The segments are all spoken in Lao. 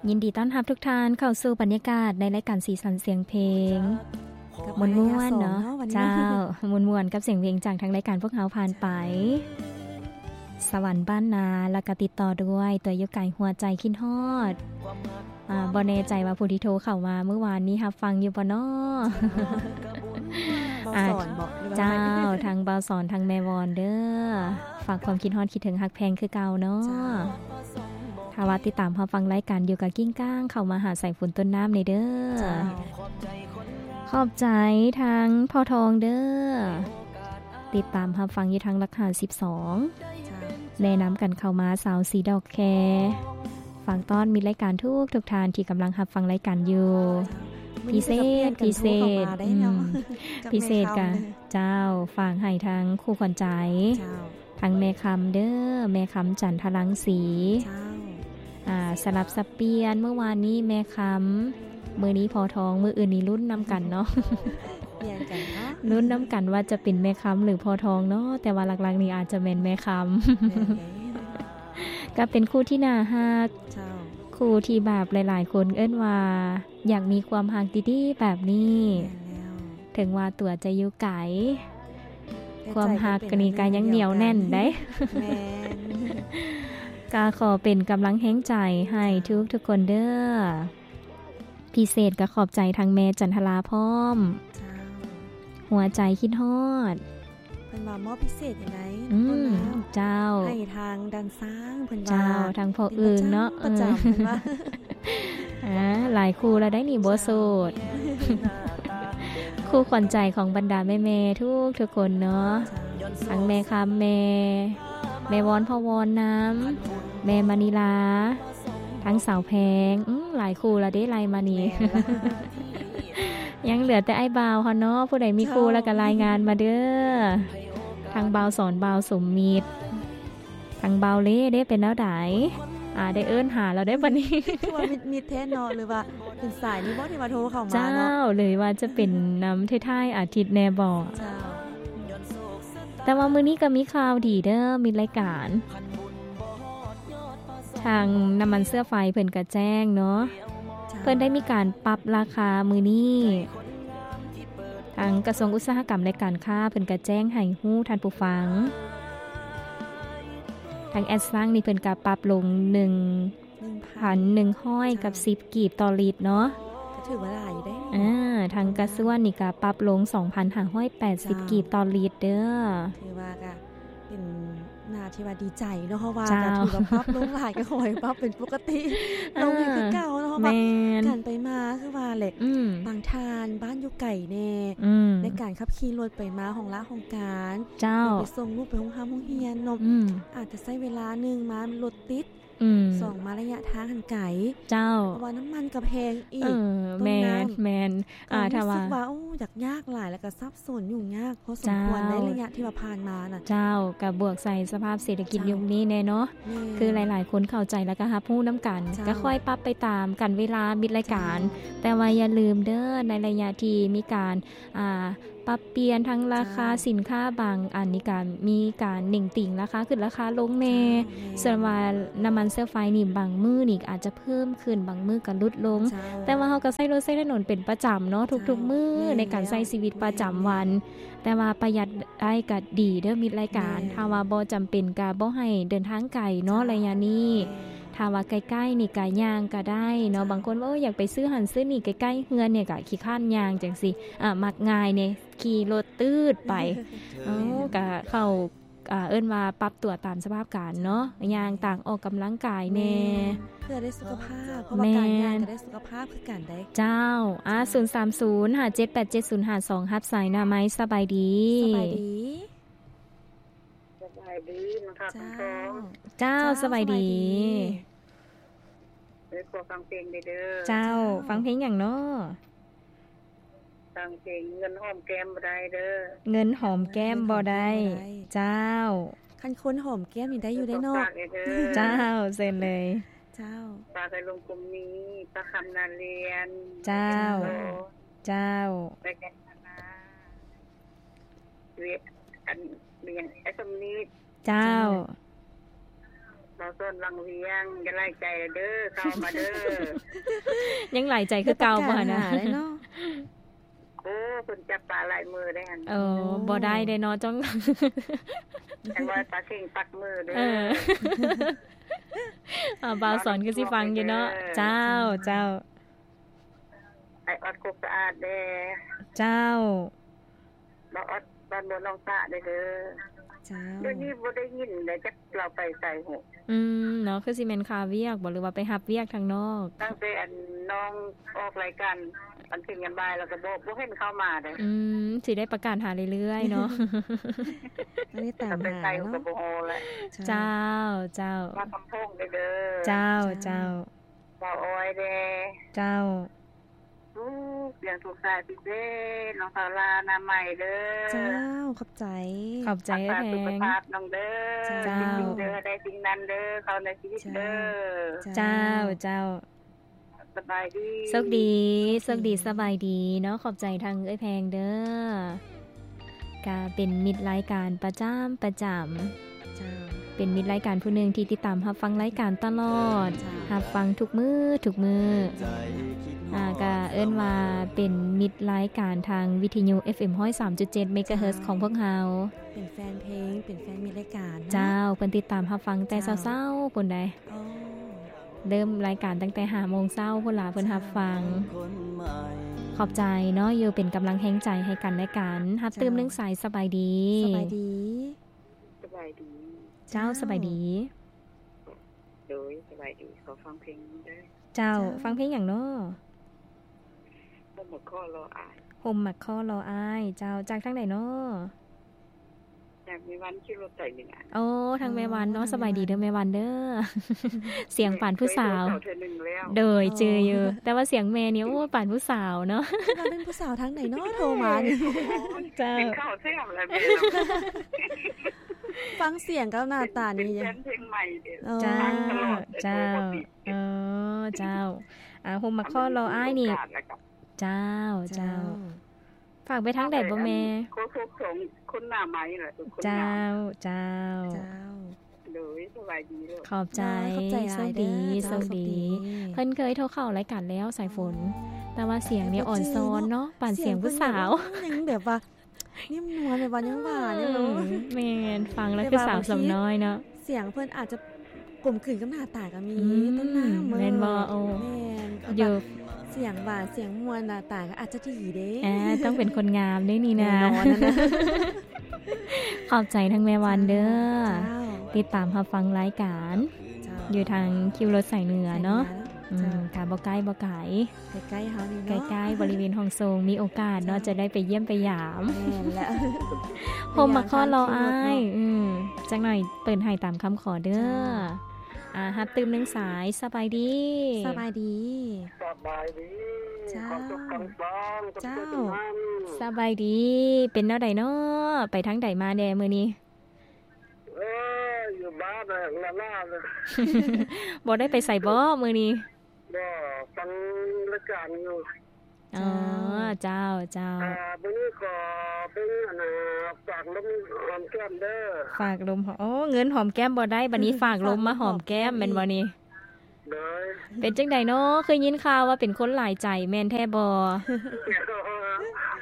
ຍິນດີຕ້ອນຮັບທຸກທ່ານເຂົ້າສູ່ບັນຍາກາດໃນລາຍການສີສັນສຽງເພງ ມ່ວນໆເນາະ. ເຈົ້າ ມ່ວນໆກັບສຽງເພງຈາກທາງລາຍການພວກເຮົາຜ່ານໄປ. ສະຫວັນບ້ານນາ ແລ້ວກໍຕິດຕໍ່ດ້ວຍ ຕົວຢູ່ໄກຫົວໃຈຄິດຮອດ. ອາ ບໍ່ແນ່ໃຈວ່າຜູ້ທີ່ໂທເຂົ້າມາມື້ວານນີ້ຮັບຟັງຢູ່ບໍ່ເນາະ? ເຈົ້າ ທາງບ່າວສອນ ທາງແມ່ວອນເດີ ຝາກຄວາມຄິດຮອດຄິດເຖິງຮັກແພງຄືເກົ່າເນາະ. ຖ້າວ່າຕິດຕາມຮັບຟັງລາຍການຢູ່ ກໍກິ່ງກ້າງເຂົ້າມາຫາສາຍຝົນຕົ້ນນ້ຳແດ່ເດີ. ຂອບໃຈທາງພໍ່ທອງເດີ ຕິດຕາມຮັບຟັງຢູ່ທາງຫຼັກຫ້າສິບສອງ ແນະນຳກັນເຂົ້າມາ ສາວສີດອກແຄ. ຝາກຕ້ອນມິດລາຍການທຸກໆທ່ານທີ່ກຳລັງຮັບຟັງລາຍການຢູ່ ພິເສດ ພິເສດ ອືມ ພິເສດກະ ເຈົ້າ ຝາກໃຫ້ທາງຄູ່ຂວັນໃຈ ທາງແມ່ຄຳເດີ ແມ່ຄຳຈັນທະລັງສີ. ອາ ສະຫຼັບສັບປ່ຽນ ມື້ວານນີ້ແມ່ຄຳ ມື້ນີ້ພໍ່ທອງ ມື້ອື່ນນີ້ລຸ້ນນຳກັນເນາະ. ລຸ້ນນຳກັນວ່າຈະເປັນແມ່ຄຳ ຫຼື ພໍ່ທອງເນາະ ແຕ່ວ່າຫຼັກໆນີ້ອາດຈະແມ່ນແມ່ຄຳ. ກໍເປັນຄູ່ທີ່ໜ້າຮັກ ຄູ່ທີ່ແບບຫຼາຍໆຄົນເອີ້ນວ່າຢາກມີຄວາມຮັກດີໆແບບນີ້. ເຖິງວ່າຕົວຈະຢູ່ໄກ ຄວາມຮັກນີ້ກໍຍັງໜຽວແໜ້ນໄດ໋. ກໍຂໍເປັນກຳລັງແຮງໃຈໃຫ້ທຸກໆຄົນເດີ. ພິເສດກໍຂອບໃຈທາງແມ່ຈັນທະລາພ້ອມ ຫົວໃຈຄິດຮອດ ເພິ່ນວ່າມອບພິເສດໃຫ້ໄດ໋. ອືມ ເຈົ້າ ໃຫ້ທາງດ້ານຊ້າງ ເພິ່ນວ່າ ເຈົ້າ ທາງພໍ່ອຶ່ງເນາະ ປະຈຳ ເອີ ເພິ່ນວ່າ. ອາ ຫຼາຍຄູ່ແລ້ວໄດ໋ນີ້ບໍ່ໂສດ. ຄູ່ຂວັນໃຈຂອງບັນດາແມ່ໆທຸກໆຄົນເນາະ ທັງແມ່ຄຳ ແມ່ ແມ່ວອນ ພໍ່ວອນນຳ ແມ່ມະນີລາ ທັງສາວແພງ ອືມ ຫຼາຍຄູ່ລະເດ້ ໄລ່ມານີ້. ຍັງເຫຼືອແຕ່ອ້າຍບ່າວເຮົາເນາະ ຜູ້ໃດມີຄູ່ລະກະລາຍງານມາເດີ. ທາງບ່າວສອນ ບ່າວສົມມິດ ທາງບ່າວເລເດ້ ເປັນແນວໃດ? ອາ ໄດ້ເອີ້ນຫາແລ້ວເດ້ບັດນີ້. ຄືວ່າມິດໆແທ້ເນາະ ຫຼືວ່າເປັນສາຍນີ້ບໍ່ທີ່ວ່າໂທເຂົ້າມາເນາະ? ເຈົ້າ ຫຼືວ່າຈະເປັນນຳທ້າຍໆອາທິດແດ່ບໍ? ເຈົ້າ ແຕ່ວ່າມື້ນີ້ກໍມີຂ່າວດີເດີ ມິດລາຍການ ທາງນ້ຳມັນເຊື້ອໄຟເພິ່ນກະແຈ້ງເນາະ ເພິ່ນໄດ້ມີການປັບລາຄາມື້ນີ້ ທາງກະຊວງອຸດສາຫະກຳ ແລະ ການຄ້າ ເພິ່ນກະແຈ້ງໃຫ້ຮູ້ທ່ານຜູ້ຟັງ. ທາງແອັດຊັງນີ້ເພິ່ນກະປັບລົງໜຶ່ງພັນໜຶ່ງຮ້ອຍກັບສິບກີບຕໍ່ລິດເນາະ ກໍຖືວ່າຫຼາຍຢູ່ເດ້. ອາ ທາງກະຊວນນີ້ກະປັບລົງສອງພັນຫ້າຮ້ອຍແປດສິບກີບຕໍ່ລິດເດີ. ຖືວ່າກະ ເປັນໜ້າທີ່ວ່າດີໃຈເນາະ ເພາະວ່າ ເຈົ້າ ກໍຖືວ່າປັບລົງຫຼາຍ ກໍຂໍໃຫ້ປັບເປັນປົກກະຕິລົງໃຫ້ຄືເກົ່າເນາະ ເພາະວ່າ ແມ່ນ ການໄປມາຄືວ່າແຫຼະ ອືມ ບາງທ່ານບ້ານຢູ່ໄກແດ່ ອືມ ໃນການຂັບຂີ່ລົດໄປມາຫ້ອງລະຫ້ອງການ ເຈົ້າ ໄປສົ່ງລູກໄປໂຮງຮາມໂຮງຮຽນເນາະ ອືມ ອາດຈະໃຊ້ເວລາ ໜຶ່ງ ມາລົດຕິດ ອືມ ສອງ ມາໄລຍະທາງຫັ້ນໄກ ເຈົ້າ ເພາະວ່ານ້ຳມັນກໍແພງອີກ ເອີ ແມ່ນ ແມ່ນ ອາ ຖ້າວ່າ ກໍຮູ້ສຶກວ່າ ໂອ້ ຍາກຍາກຫຼາຍ ແລ້ວກໍສັບສົນຫຍຸ້ງຍາກພໍສົມຄວນ ເຈົ້າ ໃນໄລຍະທີ່ວ່າຜ່ານມານະ ເຈົ້າ ກໍບວກໃສ່ສະພາບເສດຖະກິດ ເຈົ້າ ຍຸກນີ້ແດ່ເນາະ ແມ່ນ ຄືຫຼາຍໆຄົນເຂົ້າໃຈ ແລ້ວກໍຮັບຮູ້ນຳກັນ ເຈົ້າ ກໍຄ່ອຍປັບໄປຕາມກັນເວລາມິດລາຍການ ເຈົ້າ ແຕ່ວ່າຢ່າລືມເດີ ໃນໄລຍະທີ່ມີການ ອ່າ ປັບປ່ຽນທັງລາຄາ ເຈົ້າ ສິນຄ້າບາງອັນນີ້ກະມີການເໜັງຕີງລາຄາຂຶ້ນລາຄາລົງແດ່ ເຈົ້າ ແມ່ນ ສ່ວນວ່ານ້ຳມັນເຊື້ອໄຟນີ້ບາງມື້ນີ້ອາດຈະເພີ່ມຂຶ້ນ ບາງມື້ກະຫຼຸດລົງ ເຈົ້າ ແຕ່ວ່າເຮົາກະໃຊ້ລົດໃຊ້ຖະໜົນເປັນປະຈຳເນາະ ທຸກໆມື້ ເຈົ້າ ໃນການໃຊ້ຊີວິດປະຈຳວັນ ແມ່ນ ແຕ່ວ່າປະຢັດໄດ້ກະດີເດີ ມິດລາຍການ ແມ່ນ ຖ້າວ່າບໍ່ຈຳເປັນກະບໍ່ໃຫ້ເດີນທາງໄກເນາະ ເຈົ້າ ໄລຍະນີ້ ແມ່ນ ຖ້າວ່າໃກ້ໆນີ້ກະຍ່າງກະໄດ້ເນາະ ເຈົ້າ ບາງຄົນວ່າ ໂອ້ຍ ຢາກໄປຊື້ຫັ້ນຊື້ນີ້ໃກ້ໆເຮືອນນີ້ກະຂີ້ຄ້ານຍ່າງຈັ່ງຊີ້ ອາ ມັກງ່າຍແດ່ ຂີ່ລົດຕືດໄປ ເອີ ກະເຂົ້າ ອາ ເອີ້ນວ່າປັບຕົວຕາມສະພາບການເນາະ ເຈົ້າ ຍ່າງຕ່າງອອກກຳລັງກາຍແດ່ ແມ່ນ ເພື່ອໄດ້ສຸຂະພາບ ເພາະວ່າ ແມ່ນ ການຍ່າງກະໄດ້ສຸຂະພາບຄືກັນເດ້ ເຈົ້າ ອາ ສູນສາມສູນ ຫ້າເຈັດແປດເຈັດສູນຫ້າສອງ ຮັບສາຍໜ້າໄມ ສະບາຍດີ ສະບາຍດີ. ສະບາຍດີ ແມ່ຄຳ ເຈົ້າ ຄຳທອງ ເຈົ້າ ເຈົ້າ ສະບາຍດີ ສະບາຍດີ ເອີ ຂໍຟັງເພງແດ່ເດີ ເຈົ້າ ເຈົ້າ ຟັງເພງຫຍັງເນາະ? ຟັງເພງເງິນຫອມແກ້ມບໍ່ໄດ້ເດີ ເງິນຫອມແກ້ມບໍ່ໄດ້ ເງິນຫອມແກ້ມບໍ່ໄດ້ ເຈົ້າ ຄັນຄົນຫອມແກ້ມນີ້ໄດ້ຢູ່ເດ້ເນາະ ເຈົ້າ ເຊີນເລີຍ ເຈົ້າ ຝາກໃຫ້ລຸງກຸມມີ ປ້າຄຳນາລຽນ ເຈົ້າ ເຈົ້າ ແລະ ອັນ ມີຫຍັງ ອ້າຍສົມນິດ ເຈົ້າ ເຈົ້າ ແລ ສອນວັງວຽງ ຢ່າຫຼາຍໃຈເດີ້ ເຂົ້າມາເດີ້. ຍັງຫຼາຍໃຈຄືເກົ່າບໍ່ຫັ້ນນະ? ໂອ້ ເພິ່ນຈັບປາຫຼາຍມື້ເດ້ຫັ້ນ. ເອີ ບໍ່ໄດ້ເດ້ເນາະ ຈ້ອງ ຈັ່ງວ່າປາເຄັ່ງປັກມືເດີ້. ເອີ ອ່າ ບ່າວສອນຄືຊິຟັງຢູ່ເນາະ. ເຈົ້າ ເຈົ້າ. ອ້າຍອອດ ໂຄກສະອາດແດ່. ເຈົ້າ. ບ່າວອອດ ບ້ານບົວໜອງສະແດ່ເດີ້. ເຈົ້າ. ດຽວນີ້ບໍ່ໄດ້ຍິນແລ້ວ ຈັກລາວໄປໃສຫົ້ນ. ອືມ ເນາະ ຄືຊິແມ່ນຄາວຽກບໍ ຫຼືວ່າໄປຮັບວຽກທາງນອກ? ຕັ້ງແຕ່ອັນນ້ອງອອກລາຍການອັນເປັນຍາມບ່າຍແລ້ວກໍບໍ່ ບໍ່ເຫັນເຂົ້າມາເດ້. ອືມ ຊິໄດ້ປະກາດຫາເລື້ອຍໆເນາະ. ອັນນີ້ຕາມຫາເນາະ. ເຈົ້າ ເຈົ້າ. ມາຄຳພົງເດີ້. ເຈົ້າ ເຈົ້າ. ເຈົ້າ. ບ່າວອ້ອຍແດ່. ເຈົ້າ. ລູກ ສຽງທຸກສາຍພິເສດ ນ້ອງສາວລາ ນາໃໝເດີ້. ເຈົ້າ ຂອບໃຈ. ຂອບໃຈເອື້ອຍແພງ. ຮັກສາສຸຂະພາບນ້ອງເດີ້. ເຈົ້າ. ສິ່ງເດີ ໄດ້ສິ່ງນັ້ນເດີ້ ເຂົ້າໃນຊີວິດເດີ້. ເຈົ້າ ເຈົ້າ. ສະບາຍດີ. ໂຊກດີ ໂຊກດີ ສະບາຍດີເນາະ. ຂອບໃຈທາງເອື້ອຍແພງເດີ້. ກະເປັນມິດລາຍການປະຈຳ ປະຈຳ. ເຈົ້າ. ເປັນມິດລາຍການຜູ້ໜຶ່ງທີ່ຕິດຕາມຮັບຟັງລາຍການຕະຫຼອດ. ເຈົ້າ. ຮັບຟັງທຸກມື້ ທຸກມື້. ອ່າ ກະເອີ້ນວ່າເປັນມິດລາຍການທາງວິທະຍຸ ເອັຟເອັມ ຮ້ອຍສາມຈຸດເຈັດ ເມກາເຮີດ ຂອງພວກເຮົາ. ເປັນແຟນເພງ ເປັນແຟນມິດລາຍການເນາະ. ເຈົ້າ. ເພິ່ນຕິດຕາມຮັບຟັງແຕ່ເຊົ້າໆ ພຸ້ນໃດ໋. ອໍ. ເລີ່ມລາຍການຕັ້ງແຕ່ຫ້າໂມງເຊົ້າພຸ້ນລະ ເພິ່ນຮັບຟັງ. ເຈົ້າ. ຂອບໃຈເນາະ ຢູ່ເປັນກຳລັງແຮງໃຈໃຫ້ກັນແລະກັນ. ຮັບຕື່ມ ເຈົ້າ ໜຶ່ງສາຍ. ສະບາຍດີ. ສະບາຍດີ. ສະບາຍດີ. ເຈົ້າ. ເຈົ້າ ສະບາຍດີ. ໂດຍ ສະບາຍດີ. ຂໍຟັງເພງເດີ້. ເຈົ້າ. ເຈົ້າ. ຟັງເພງຫຍັງເນາະ? ຮົ່ມໝາກຄໍ່ລໍອ້າຍ. ຮົ່ມໝາກຄໍ່ລໍອ້າຍ. ເຈົ້າ. ຈາກທາງໃດເນາະ? ຈາກແມ່ວັນ ຂີ່ລົດໄຖເໜືອ. ໂອ້ ທາງແມ່ວັນເນາະ. ອໍ ທາງແມ່ວັນ. ສະບາຍດີເດີ້ແມ່ວັນເດີ້. ສຽງປານຜູ້ສາວ. ເຄີຍໂທເທື່ອໜຶ່ງແລ້ວ. ໂດຍ ອໍ ຈື່ຢູ່. ແຕ່ວ່າສຽງແມ່ນີ້ ໂອ້ ປານຜູ້ສາວເນາະ. ເປັນຜູ້ສາວທາງໃດເນາະໂທມານີ້? ເຈົ້າ. ກິນເຂົ້າແຊບແລ້ວແມ່ເນາະ. ຟັງສຽງກັບໜ້າຕານີ້ ເປັນແຟນເພງໃໝ່ເດ້. ອໍ ເຈົ້າ ເຈົ້າ. ອໍ ເຈົ້າ. ອ່າ ຮົ່ມໝາກຄໍ່ລໍອ້າຍນີ້. ເຈົ້າ ເຈົ້າ. ເຈົ້າ. ຝາກໄປທາງໃດບໍ່ແມ່? ໂຄສົກສອງຄົນໜ້າໄມລະ. ເຈົ້າ ເຈົ້າ. ເຈົ້າ. ໂດຍ ສະບາຍດີລູກ. ຂອບໃຈ. ໂດຍ ຂອບໃຈຫຼາຍເດີ້. ໂຊກດີ ເຈົ້າ ໂຊກດີ. ໂຊກດີ. ເພິ່ນເຄີຍໂທເຂົ້າລາຍການແລ້ວ ສາຍຝົນ. ອໍ ແຕ່ວ່າສຽງນີ້ອ່ອນຊອນເນາະ ປານສຽງຜູ້ສາວ. ຍັງແບບວ່າ ນຸ່ມນວນ ແບບວ່າຍັງຫວານຢູ່ເນາະ. ອືມ ແມ່ນ ຟັງແລ້ວຄືສາວສ່ຳນ້ອຍເນາະ. ສຽງເພິ່ນອາດຈະກົມກືນກັບໜ້າຕາກໍມີ. ອືມ ຕົ້ນນ້ຳ. ແມ່ນບໍ່? ໂອ້ ແມ່ນ. ຢູ່ ແບບວ່າສຽງຫວານ ສຽງມ່ວນ ໜ້າຕາກໍອາດຈະດີເດ້. ອ່າ ຕ້ອງເປັນຄົນງາມເດ້ນີ້ນະ. ແນ່ນອນນະ. ຂອບໃຈທາງແມ່ວັນເດີ້. ເຈົ້າ ເຈົ້າ. ຕິດຕາມຮັບຟັງລາຍການ. ເຈົ້າ. ຢູ່ທາງຄິວລົດສາຍເໜືອເນາະ. ສາຍເໜືອ. ອືມ ເຈົ້າ. ກະບໍ່ໃກ້ບໍ່ໄກ. ໃກ້ໆເຮົານີ້ເນາະ. ໃກ້ໆ ບໍລິເວນຫ້ອງໂຊງ ມີໂອກາດເນາະ ເຈົ້າ ຈະໄດ້ໄປຢ້ຽມໄປຢາມ. ແມ່ນແຫຼະ. ຮົ່ມໝາກຄໍ່ລໍອ້າຍ. ໄປຢາມທາງຂີ່ລົດເນາະ. ອືມ ຈັກໜ້ອຍເປີດໃຫ້ຕາມຄຳຂໍເດີ້. ເຈົ້າ. ອ່າ ຮັບຕື່ມໜຶ່ງສາຍ. ສະບາຍດີ. ສະບາຍດີ. ສະບາຍດີ. ເຈົ້າ. ຂໍສຸກຄຳສອງ. ເຈົ້າ. ສະບາຍດີ. ເປັນແນວໃດເນາະ? ໄປທາງໃດມາແດ່ມື້ນີ້? ເອີ ຢູ່ບ້ານລະລາໆ. ບໍ່ໄດ້ໄປໃສບໍມື້ນີ້? ບໍ່ ຟັງລາຍການຢູ່. ອໍ ເຈົ້າ ເຈົ້າ. ອ່າ ມື້ນີ້ຂໍເບິ່ງ ອັນນ່າ ຝາກລົມຫອມແກ້ມເດີ້. ຝາກລົມ ໂອ້ ເງິນຫອມແກ້ມບໍ່ໄດ້ ບັດນີ້ຝາກລົມມາຫອມແກ້ມແມ່ນບໍ່ນີ້? ໂດຍ. ເປັນຈັ່ງໃດເນາະ? ຄືຍິນຂ່າວວ່າເປັນຄົນຫຼາຍໃຈ ແມ່ນແທ້ບໍ່?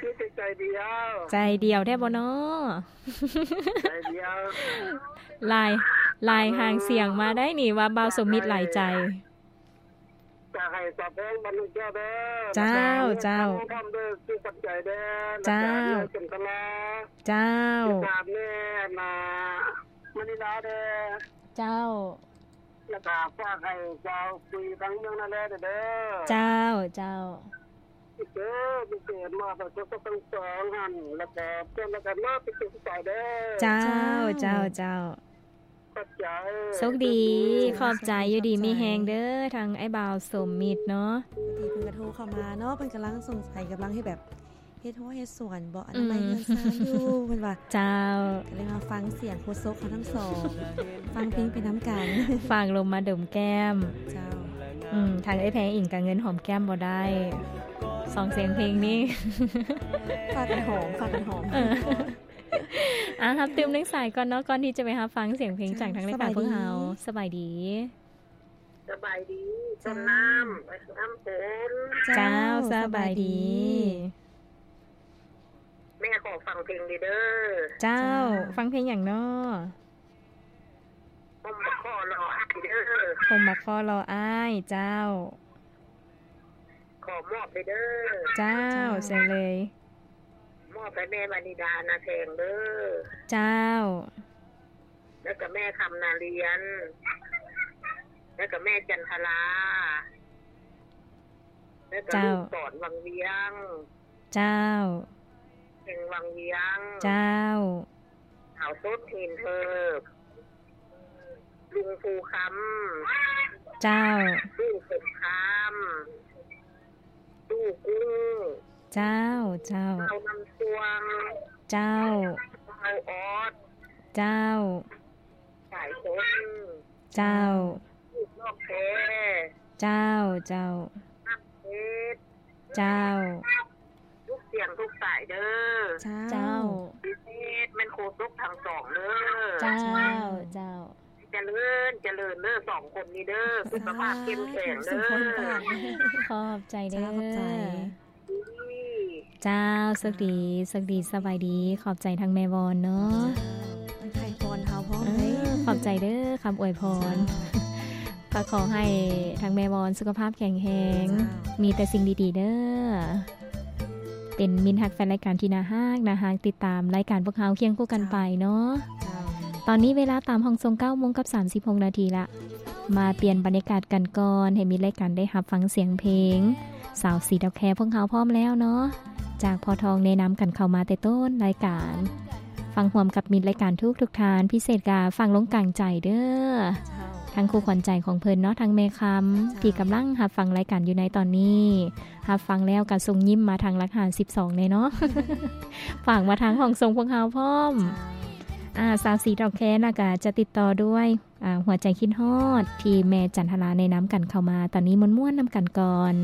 ມີແຕ່ໃຈດຽວ. ໃຈດຽວແທ້ບໍ່ເນາະ? ໃຈດຽວ. ລາຍ ລາຍຫາງສຽງມາໄດ້ນີ້ວ່າບ່າວສົມມິດຫຼາຍໃຈ. ຈະໃຫ້ສາວແພງບັນດວງແກ້ວເດີ້. ເຈົ້າ ເຈົ້າ. ແລ້ວກໍແມ່ຄຳເດີ້ ຊື່ຂອບໃຈເດີ້. ເຈົ້າ. ແລ້ວກໍແມ່ຈັນຕະລາ. ເຈົ້າ. ແລ້ວກໍແມ່ ອັນນ່າ ມະນີລາເດີ້. ເຈົ້າ. ແລ້ວກໍຝາກໃຫ້ສາວປຸ້ຍທາງເມືອງນາແລເດີ້. ເຈົ້າ ເຈົ້າ. ເດີ ພິເສດມາກ ປະສົບທັງສອງຫັ້ນ ແລ້ວກໍເພື່ອນລະກັນເນາະ ເປັນສຸກສາຍເດີ້. ເຈົ້າ ເຈົ້າ ເຈົ້າ. ຂອບໃຈ. ໂຊກດີ. ຂອບໃຈ. ຂອບໃຈ ຢູ່ດີມີແຮງເດີ້ ທາງອ້າຍບ່າວສົມມິດເນາະ. ພໍດີເພິ່ນກໍໂທເຂົ້າມາເນາະ ເພິ່ນກຳລັງສົງໄສ ກຳລັງເຮັດແບບ ເຮັດຮົ້ວເຮັດສວນບໍ ອະນາໄມເຮືອນຊານຢູ່ ເພິ່ນວ່າ. ເຈົ້າ. ກໍເລີຍມາຟັງສຽງໂຄສົກເຮົາທັງສອງ ຟັງເພງໄປນຳກັນ. ຝາກລົມມາດົມແກ້ມ. ເຈົ້າ. ອືມ ທາງເອື້ອຍແພງເອງກໍເງິນຫອມແກ້ມບໍ່ໄດ້ ສອງສຽງເພງນີ້. ຝາກກັນຫອມ ຝາກກັນຫອມ. ເອີ. ອາ ຮັບຕື່ມໜຶ່ງສາຍກ່ອນເນາະ ກ່ອນທີ່ຈະໄປຮັບຟັງສຽງເພງຈາກທາງລາຍການພວກເຮົາ. ສະບາຍດີ ສະບາຍດີ ຕົ້ນນ້ຳ ເຈົ້າ ນ້ຳຝົນ. ເຈົ້າ ເຈົ້າ ສະບາຍດີ ສະບາຍດີ. ແມ່ຂໍຟັງເພງເດີ. ເຈົ້າ ເຈົ້າ ຟັງເພງຫຍັງເນາະ? ຜົມບັກຂໍລໍອ້າຍເດີ ຜົມບັກຂໍລໍອ້າຍ. ເຈົ້າ ຂໍມອບເດີ. ເຈົ້າ ເຈົ້າ ເຊີນເລີຍ ມອບໃຫ້ແມ່ວານິດາ ນາແພງເດີ. ເຈົ້າ ແລ້ວກໍແມ່ຄຳນາລຽນ ແລ້ວກໍແມ່ຈັນທະລາ ແລ້ວກໍ ເຈົ້າ ລູກສອນວັງວຽງ. ເຈົ້າ ເພງວັງວຽງ. ເຈົ້າ ສາວສົດຫີນເທີບ ລຸງພູຄຳ. ເຈົ້າ ຕູ້ສົງຄາມ ຕູ້ກຸ້ງ. ເຈົ້າ ເຈົ້າ ເຈົ້າ ນ້ຳຊ່ວງ. ເຈົ້າ ເຈົ້າ ອອດ. ເຈົ້າ ສາຍຊົນ. ເຈົ້າ ລູກນອກແພ. ເຈົ້າ ເຈົ້າ ນ້ຳເພັດ. ເຈົ້າ ທຸກສຽງທຸກສາຍເດີ. ເຈົ້າ ເຈົ້າ ພິເສດແມ່ນໂຄສົກທັງສອງເດີ. ເຈົ້າ ເຈົ້າ ຈະເລີນ ຈະເລີນເດີ ສອງຄົນນີ້ເດີ ສຸຂະພາບເຂັ້ມແຂງເດີ. ຂອບໃຈເດີ. ເຈົ້າ ຂອບໃຈ ເຈົ້າ ໂຊກດີ ໂຊກດີ ສະບາຍດີ. ຂອບໃຈທາງແມ່ວອນເນາະ ເຈົ້າ ໄດ້ໄພພອນເຮົາພ້ອມເດ້. ຂອບໃຈເດີ ຄຳອວຍພອນ. ເຈົ້າ ກໍຂໍໃຫ້ທາງແມ່ວອນສຸຂະພາບແຂງແຮງ ເຈົ້າ ມີແຕ່ສິ່ງດີໆເດີ. ເປັນມິດຮັກແຟນລາຍການທີ່ໜ້າຮັກ ໜ້າຮັກ ຕິດຕາມລາຍການພວກເຮົາຄຽງຄູ່ກັນໄປເນາະ. ເຈົ້າ ຕອນນີ້ເວລາຕາມຫ້ອງສົ່ງເກົ້າໂມງກັບສາມສິບຫົກນາທີລະ. ມາປ່ຽນບັນຍາກາດກັນກ່ອນ ໃຫ້ມິດລາຍການໄດ້ຮັບຟັງສຽງເພງ. ສາວສີດອກແຄພວກເຮົາພ້ອມແລ້ວເນາະ ຈາກພໍ່ທອງແນະນຳກັນເຂົ້າມາແຕ່ຕົ້ນລາຍການ. ຟັງຮ່ວມກັບມິດລາຍການທຸກໆທ່ານ ພິເສດກະຟັງລົງກາງໃຈເດີ ເຈົ້າ ທັງຄູ່ຂວັນໃຈຂອງເພິ່ນເນາະ ທັງແມ່ຄຳ ເຈົ້າ ທີ່ກຳລັງຮັບຟັງລາຍການຢູ່ໃນຕອນນີ້. ຮັບຟັງແລ້ວກະສົ່ງຍິ້ມມາທາງຫຼັກຫ້າສິບສອງແດ່ເນາະ ຝາກມາທາງຫ້ອງສົ່ງພວກເຮົາພ້ອມ. ເຈົ້າ ອາ ສາວສີດອກແຄນະກະຈະຕິດຕໍ່ດ້ວຍ ອາ ຫົວໃຈຄິດຮອດ ທີ່ແມ່ຈັນທະລາແນະນຳກັນເຂົ້າມາ. ຕອນນີ້ມ່ວນໆນຳກັນກ່ອນ.